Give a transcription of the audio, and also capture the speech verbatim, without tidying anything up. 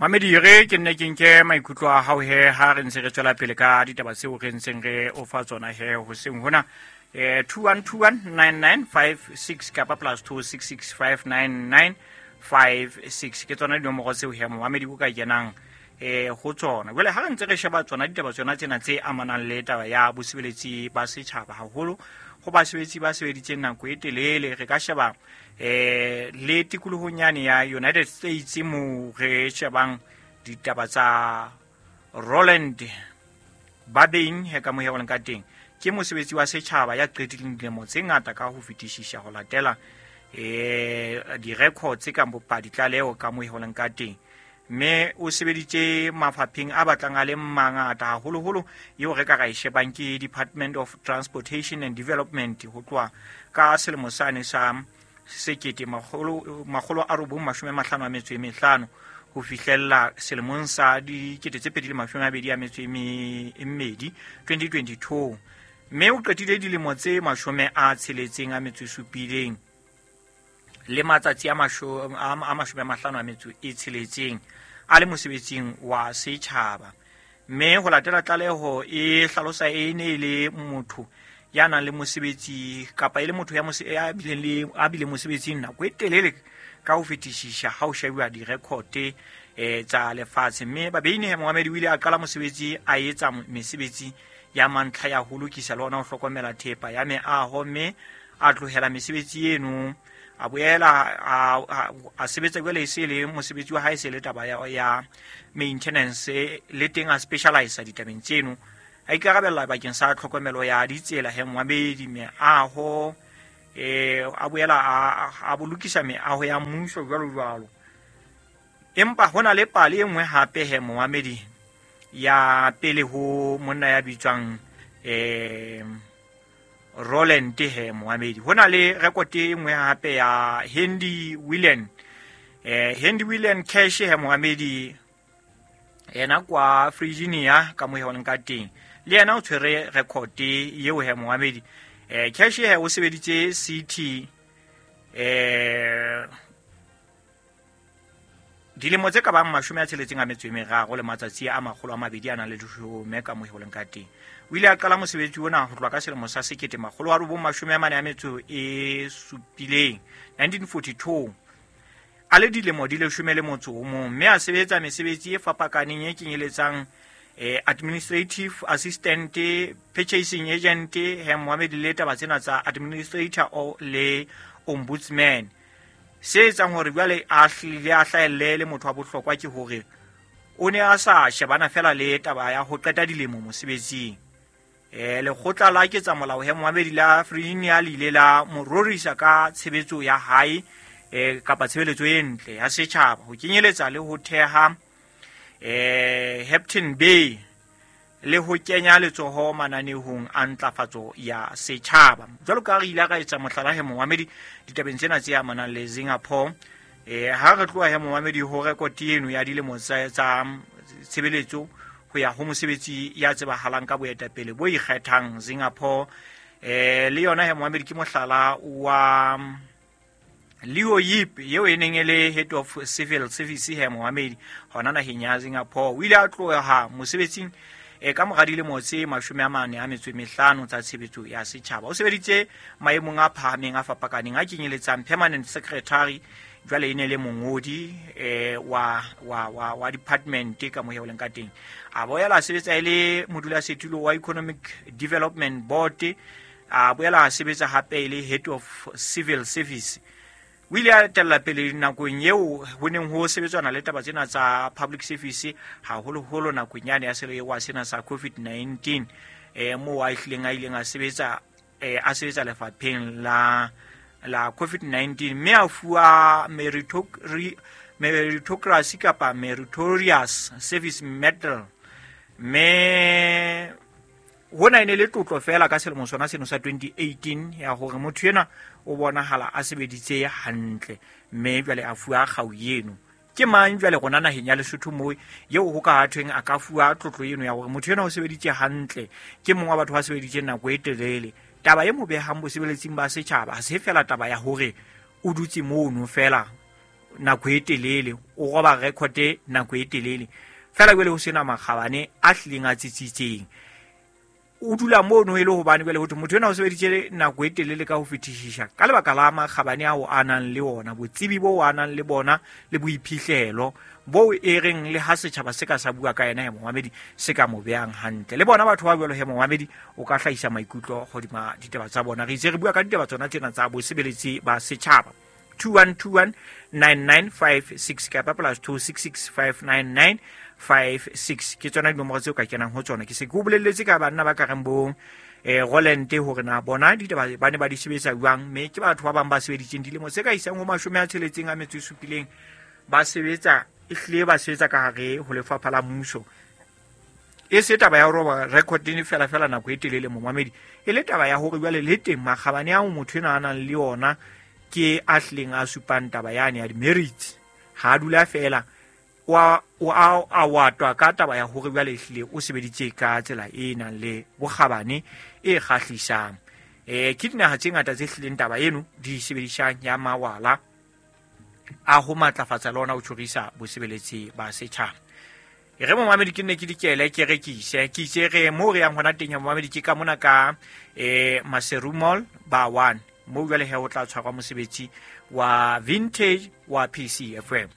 Mamedi re ke nne ke nke maikutlo a hao he ha re ntse re tswela pele ka ditaba tseo re ntseng re o fa tsona he hoseng hona eh two one two one nine nine five six kapa plus two six six five nine nine five six ke tsona dinomoro tseo he momamedi o ka kenang eh ho tsona. Jwale ha re ntse re sheba tsona ditaba tsona tsena tse amanang le taba ya bosebeletsi ba setjhaba haholo ho basebetsi ba sebeditseng nako e telele, re ka sheba eh le tikolohong yane ya United States mo re shebang ditaba tsa Roland Babeng he ka mohelang ka teng. Ke mosebetsi wa setjhaba ya qetileng dilemo tse ngata ka ho fetisisa ho latela eh di-records tse kang bopadi tlaleho ka mohelang ka teng, mme o sebeditse mafapheng a batlang a le mangata haholoholo eo re ka ra e shebang ke Department of Transportation and Development ho tloha ka selemo sane sa sekete makgolo makgolo a robong mashome a mahlano a metso e mehlano ho fihlella selemong sa dikete tse pedi le mashome a mabedi a metso e mmedi twenty twenty-two, mme o qetile dilemo tse mashome a tsheletseng a metso e supileng le matsatsi a mashome a mashome a mahlano a metso e tsheletseng a le mosebetsing wa setjhaba. Mme ho latela tlaleho e hlalosa e ne e le motho ya nang le mosebetsi kapa e le motho ya ya bileng le a bileng mosebetsing nako e telele ka ho fetisisa ha ho shebuwa di-record eh tsa lefatshe. Mme Babeine Mohamedi o ile a qala mosebetsi a etsa mesebetsi ya mantlha ya ho lokisa le hona ho hlokomela thepa ya meaho, mme a tlohela mesebetsi eno a boela a a sebetsa jwale e se le mosebetsi wa hae se le taba ya ya maintenance le teng a specialize ditabeng tseno, a ikarabella bakeng sa tlhokomelo ya ditsela he Mohamedi meaho eh a boela a bolokisa meaho ya mmuso jwalo jwalo. Empa hona le pale e nngwe hape he Mohamedi ya pele ho monna ya bitswang eh Roland he Mohamedi. Hona le record e nngwe hape ya Hendy William eh Hendy William Cash he Mohamedi yena kwa Virginia ka mohelang ka teng, le yena o tshwere record eo he Mohamedi. Eh Cash he o sebeditse city eh dilemo tse ka bang mashome a tsheletseng a metso e meraro le matsatsi a makgolo a mabedi a nang le leshome ka mohelang ka teng. O ile a qala mosebetsi ona ho tloha ka selemo sa sekete makgolo a robong mashome a mane a metso e supileng nineteen forty-two a le dilemo di leshome le motso o mong, mme a sebetsa mesebetsi e fapakaneng e kenyeletsang eh, administrative assistant, purchasing agent he Mohamedi le taba tsena tsa administrator le ombudsman. Se etsang hore jwale a hlile a hlahelle le motho wa bohlokwa ke hore o ne a sa shebana fela le taba ya ho qeta dilemo mosebetsing. Eh lekgotla la ketsa molao he Mohamedi la Virginia le ile la mo rorisa ka tshebetso ya hae eh kapa tshebeletso e ntle ya setjhaba ho kenyeletsa le ho theha eh Hampton Bay le ho kenya letsoho mananehong a ntlafatso ya setjhaba. Jwalo ka re ile ra etsa mohlala he Mohamedi ditabeng tsena tse amanang le Singapore, eh ha re tloha he Mohamedi ho record eno ya dilemo tsa tshebeletso ho ya ho mosebetsi ya tsebahalang ka boetapele bo ikgethang Singapore, eh le yona he Mohamedi ke mohlala wa Leo Yip eo e neng e le head of civil service he Mohamedi hona naheng ya Singapore. O ile a tloha mosebetsing e ka mora dilemo tse mashome a mane a metso e mehlano tsa tshebetso ya setjhaba. O sebeditse maemong a phahameng a fapakaneng a kenyeletsang permanent secretary, jwale e ne le mongodi eh wa wa wa wa department ka mohelang leng ka teng. A boela a sebetsa e le modulasetulo wa Economic Development Board, a boela a sebetsa hape e le head of civil service. O ile a etella pele nakong eo ho neng ho sebetswana le taba tsena tsa public service haholoholo nakong yane ya selewa sena sa COVID nineteen, eh moo a hlileng a ileng a sebetsa eh a sebetsa lefapheng la la COVID nineteen, mme a fuwa meritocracy kapa meritorious service medal. Mme hona e ne le tlotlo fela ka selemo sona seno sa twenty eighteen ya hore motho enwa o bonahala a sebeditse hantle, mme jwale a fuwa kgau eno. Ke mang jwale rona naheng ya Lesotho moo eo ho ka thweng a ka fuwa tlotlo eno ya hore motho enwa o sebeditse hantle, ke mong wa batho ba sebeditseng nako e telele? Taba e mo behang bosebeletsing ba setjhaba ha se fela taba ya hore o dutse mono fela nako e telele, o roba record nako e telele. Fela jwale ho sena makgabane a hlileng a tsitsitseng. O dula mono e le hobane jwale ho thwe motho enwa o sebeditse nako e telele ka ho fetisisa ka lebaka la makgabane ao a nang le ona, botsebi bo a nang le bona le boiphihlelo bo e reng le ha setjhaba se ka sa bua ka yena he momamedi se ka mo behang hantle. Le bona batho ba jwalo he momamedi o ka hlahisa maikutlo hodima ditaba tsa bona. Re itse re bua ka ditaba tsona tsena tsa bosebeletsi ba setjhaba. two one two one nine nine five six kapa plus two six six five nine nine five six ke tsona dinomoro tseo ka kenang ho tsona. Ke se ke o bolelletse ka banna ba ka reng bo eh Roland hore na bona ditaba ba ne ba di sebetsa jwang, mme ke batho ba bang ba sebeditseng dilemo tse ka isang ho mashome a tsheletseng a metso e supileng ba sebetsa, ehlile ba sebetsa ka hare ho lefapha la mmuso. E se taba ya ho roba record ne fela fela nako e telele momamedi, e le taba ya hore jwale le teng makgabane ao motho enwa a nang le ona ke a hlileng a supang taba yane ya di-merits. Ha a dula fela wa o a a watwa ka taba ya hore jwale ehlile o sebeditse ka tsela e nang le bokgabane e kgahlisang. Eh ke dinaha tse ngata tse hlileng taba eno di sebedisang ya mawala a ho matlafatsa le ona ho tjhorisa bosebeletsi ba setjhaba. E re momamedi ke nne ke dikele ke rekise ke itse re mo re yang hona teng ya momamedi ke ka mona ka eh Maseru Mall ba one mo jwale he o tla tshwarwa mosebetsi wa vintage wa P C F M.